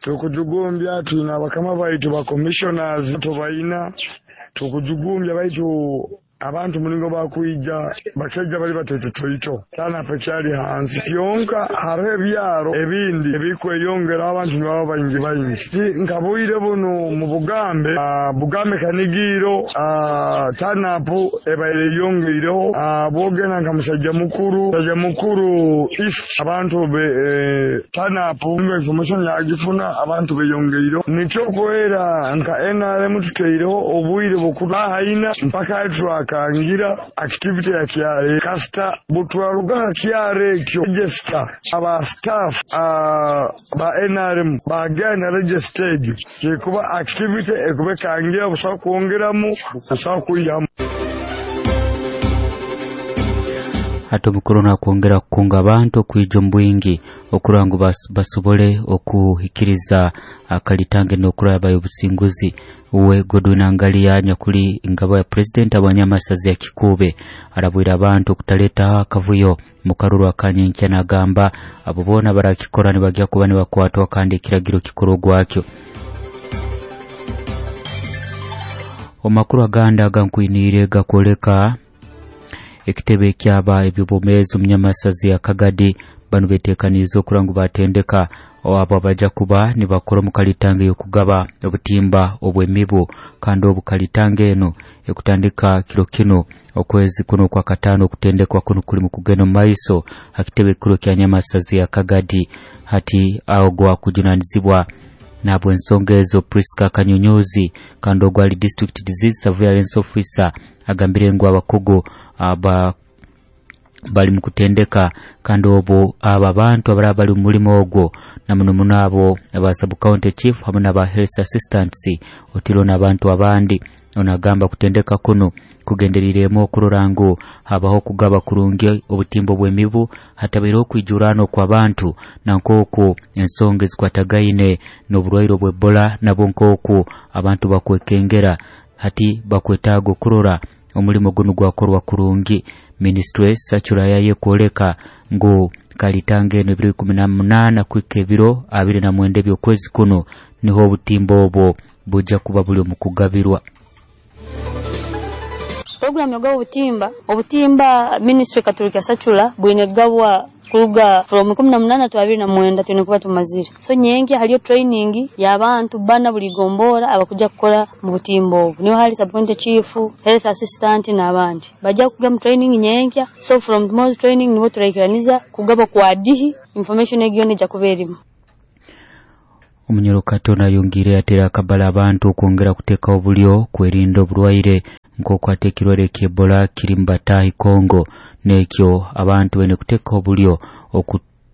Tukujugumbya twina abakama baitu ba commissioners tubaina tukujugumbya baitu abantu mulingo bakwija bakeija bali batoitotoito tana pekyali hansi kyonka hariho ebyaro ebindi ebikweyongera abantu nibaba baingi baingi nkabuire buno mu Bugambe Bugambe Kanigiro tanapu ebaire yongeireho bwogenda nka Musajja Mukuru East abantu be tanapu information yagifuna abantu beyongeireho nikyo kwera nka NRM tuteireho obwire bukuru haina mpaka twakangira activity ya KRA kasita butwaruga KRA ekyo register aba staff ba NRM bagenda register egyo kikuba activity ekubekangira busa kwongeramu busa kuyamu. Hata omukuru nakwongera kukunga abantu okuija omu bwingi okurora ngu basobole okuhikiriza akalitange n'okuraba obusinguzi. Uwe Godwin Angalia nyakuli ngabo ya president abanyamasazi ya Kikube arabwira abantu okutaleta akavuyo mukaruru akanyenkya nagamba abo bona barakikora nibagya kuba nibakwatwa kandi ekiragiro kikuru gwakyo. Omakuru aganda agankwinire gakoleka ekitebe kyaba ebyobomezi omunyamasazi ya Kagadi banu betekaniza okurangu batendeka abo abaja kuba nibakora mu kalitange yokugaba obutimba obwemibu kandi obukalitange eno ekutandika kiro kino okwezi kuno kwa katano okutendekwa kuno kuli mu kugenda mu maiso akitebe kiro kya nyamasazi ya Kagadi hati aho gwa kujunanizibwa nabwo ensonga ezo Priska Kanyunyuzi kandi ogwali district disease surveillance officer agambire ngu abakugu aba bali mukutendeka kandi obo aba bantu abaraba bali mu mulimo ogwo na muno muno abo aba sub county chief hamwe n'aba health assistants otiro n'abantu abandi. Onagamba kutendeka kuno kugenderiremo okurora ngu habaho kugaba kurungi obutimbo bw'emibu hatabeereho okwijurano kw'abantu na nk'oku ensonga ezikwatagaine n'oburwaire bw'Ebola nabo nk'oku abantu bakwekengera hati bakwetaaga okurora omulimo guno gwakorwa kurungi. Ministry sachura yaye kwoleka ngu kalitange eno ebiro 18 kwika ebiro 29 by'okwezi kuno niho obutimbo obwo buja kuba buli omu kugabirwa. Program yoga obutimba ministry Katolika sachula bwine gabwa kuruga from 18 to 29 twine kuba tumazire. So nyenki haliyo training y'abantu bana buli gombora abakuja kukora mu butimbo obu. Niho hali sub county chief, health assistant n'abandi. Bajja kugaba training nyenki. So from tomorrow's training nibo turaikiraniza kugaba kwa dihi information egiyo neja kuberimo. Omunyoro Katona yongire atera akabala abantu okwongera kuteeka obulyo kwerinda oburwaire nk'oku ate ekirwaire ky'Ebola kiri mu batahi Kongo nekyo abantu bene kuteeka obulyo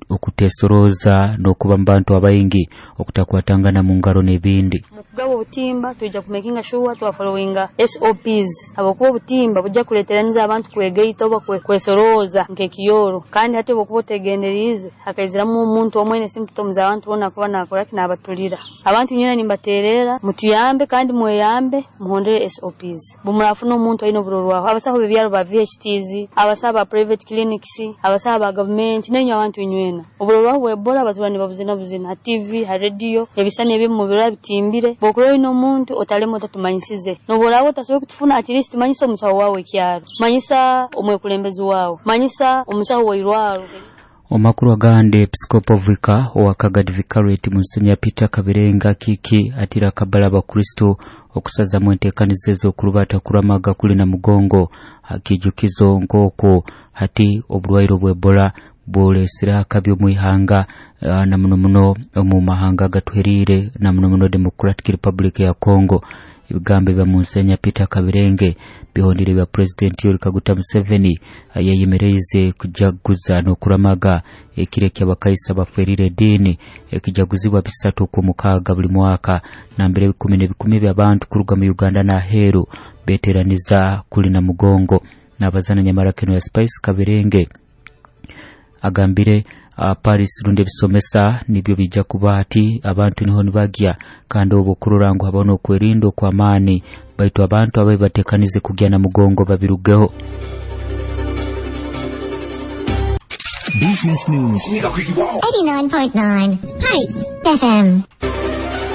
okutesoroza n'okuba mu bantu abaingi okutakwatangana mu ngaro n'ebindi. Mukugaba obutimba tuija kumakinga sure twa followinga SOPs abakuba obutimba bujja kuleteraniza abantu kwegaita oba kwesoroza nk'ekiyoro kandi hati obukuba otegendererize hakaiziramu omuntu omwene symptoms abantu bona kuba nakora kinabatulira abantu nyina nimbaterera mutuyambe kandi mweyambe muhondere SOPs bumurafuna omuntu aine oburorwaho abasaho bebyaro ba VHTs abasaho ba private clinics abasaho ba government nenyo abantu inywena oburorwaho bw'Ebola bazibani babuzina buzina ha TV ha radio ebisane ebimu mubira bitimbire bokuro ino omuntu otalemo otatumanyisize noborawo tasobola kutufuna at least manyisa omusawo wawe kyaro manyisa omwekulembezi wawe manyisa omusawo wairwaro. Omakuru agande Episcopal Vicar owa Kagadi Vicariate Monsignor Peter Kabirenga Kiki atira kabala abakristo okusazamu enteekaniza ez'okurubata kuramaga kuli na mugongo akijukizo nk'oku hati oburwaire bw'Ebola bulesire akabi omwihanga na muno muno omu mahanga agatuheriire na muno muno Democratic Republic ya Congo. Ebigambo bya Monsignor Peter Kabirenge bihondire bya President Yoweri Kaguta Museveni yayemereize kujaguza n'okuramaga ekiro ky'abakaisa baferire eddiini ekijaguzibwa 3 ku buli mwaka nambere ebikumi n'ebikumi by'abantu kuruga mu Uganda n'aheeru beteraniza kuli na mugongo. N'abazana nyamara keno ya Spice Kabirenge agambire Paris rundi ebisomesa nibyo bijja kuba ati abantu niho nibagya kandi obo kurora ngu habona okwerinda okw'amaani baitu abantu ababe batekanize kugya na mugongo babirugeho. Business News 89.9 Hype FM.